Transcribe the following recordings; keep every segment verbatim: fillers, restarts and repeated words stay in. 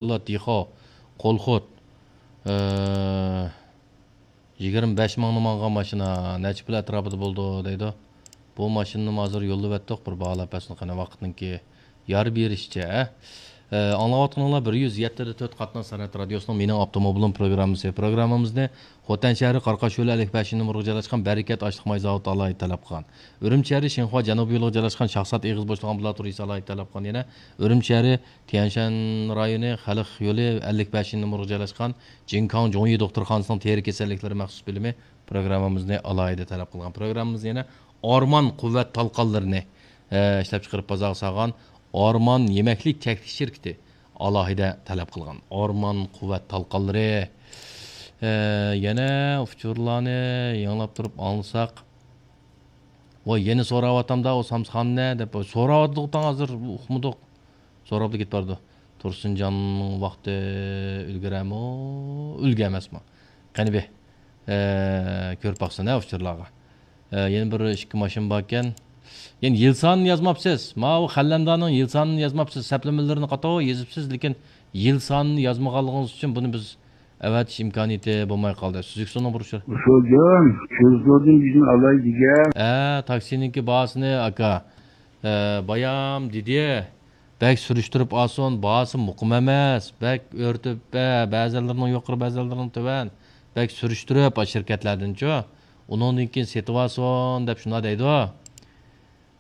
ئابدۇللا دىخو، قولخۇت، ئى، يىگىرمە بەش مىڭنى ماڭغان ماشىنا نەچچە پۇل ئەتراپىدا بولىدۇ دەيدۇ. بۇ ماشىنىنىمۇ ھازىر يوللىۋەتتۇق، بىر باھالاپ بەرسۇن قېنى ۋاقىتنىڭكى يار بېرىشىچە. ئە، ئاڭلاۋاتقىنىڭلار بىر يۈز يەتتە دە تۆت قاتناش سەنئەت رادىيوسىنىڭ مېنىڭ ئاپتوموبىلىم پروگراممىسى. پروگراممىمىزنى خوتەن شەھىرى قاراقاش يولى ئەللىك بەشىنچى نومۇرغا جايلاشقان بەرىكەت ئاشلىق ماي زاۋۇتى ئالاھىدە تەلەپ قىلغان. ئۈرۈمچى شەھىرى شىنخۇا جەنۇبىي يولىغا جايلاشقان شاھزات ئېغىز بوشلۇق ئامبۇلاتورىيىسى ئالاھىدە تەلەپ قىلغان. يەنە ئۈرۈمچى شەھىرى تيەنشەن رايونى خەلق يولى ئەللىك بەشىنچى نومۇرغا جايلاشقان جىنكاڭ جۇڭيى دوختۇرخانىسىنىڭ تېرە كېسەللىكلىرى مەخسۇس بۆلۈمى پروگراممىمىزنى ئالاھىدە تەلەپ قىلغان. پروگراممىمىز يەنە ئارمان قۇۋۋەت تالقانلىرىنى، ئە، ئىشلەپچىقىرىپ بازارغا سالغان ئارمان يېمەكلىك چەكلىك شىركىتى ئالاھىدە تەلەپ قىلغان. ئارمان قۇۋۋەت تالقانلىرى. ئە، يەنە ئۇچۇرلارنى يېڭىلاپ تۇرۇپ ئاڭلىساق. ۋاي، يەنە سوراۋاتامدا ئۇ سامسىخاننى دەپ سوراۋاتىدۇ، تاڭ ھازىر ئۇقمىدۇق. سوراپلا كېتىپ بارىدۇ. تۇرسۇنجاننىڭ ۋاقتى ئۈلگۈرەمۇ، ئۈلگە ئەمەسمۇ؟ قېنى بى، ئە، كۆرۈپ باقسىنا ئۇچۇرلارغا. ئە، يەنە بىر ئىككى ماشىنا باركەن. يەنە يىل سانىنى يازماپسىز. ماۋۇ خەللەندانىڭ يىل سانىنى يازماپسىز. سەپلىمىلىرىنى قاتتىق يېزىپسىز، لېكىن يىل سانىنى يازمىغانلىقىڭىز ئۈچۈن بۇنى بىز ئەۋەتىش ئىمكانىيىتى بولماي قالدى. سۈزۈك سۇنىڭ بىر ئۇچۇرى. ئۇسۇلدىن، كۆزدۇردىن بىزنى ئالاي دېگەن. ئە، تاكسىنىڭكى باھاسىنى، ئاكا. ئە، بايام دېدى. بەك سۈرۈشتۈرۈپ ئالسۇن، باھاسى مۇقىم ئەمەس. بەك ئۆرتىپ، بە-، بەزىلىرىنىڭ يۇقىرى، بەزىلىرىنىڭ تۆۋەن. بەك سۈرۈشتۈرۈپ، ئاشۇ شىركەتلەردىنچۇ. ئۇنىڭدىن كېيىن سېتىۋالسۇن دەپ شۇنداق دەيدۇ.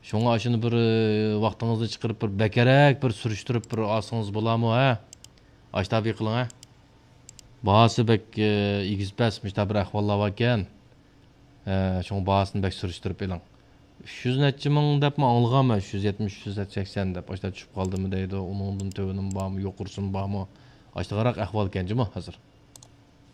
شۇڭا ئاشۇنى بىر، ئى، ۋاقتىڭىزنى چىقىرىپ، بىر بەكرەك بىر سۈرۈشتۈرۈپ بىر ئالسىڭىز بولامۇ، ھە؟ ئاشتابى قىلىڭ، ھە؟ باھاسى بەك، ئى، ئېگىز پەس، مۇشۇنداق بىر ئەھۋاللار باركەن. ھە، شۇڭا باھاسىنى بەك سۈرۈشتۈرۈپ ئېلىڭ. ئۈچ يۈز نەچچە مىڭ دەپمۇ ئاڭلىغانمەن، ئۈچ يۈز يەتمىش، ئۈچ يۈز سەكسەن دەپ، ئاشۇنداق چۈشۈپ قالدىمۇ دەيدۇ، ئۇنىڭدىن تۆۋىنىمۇ بارمۇ، يۇقىرىسىمۇ بارمۇ؟ ئاشۇنداقراق ئەھۋالكەن جۇمۇ ھازىر.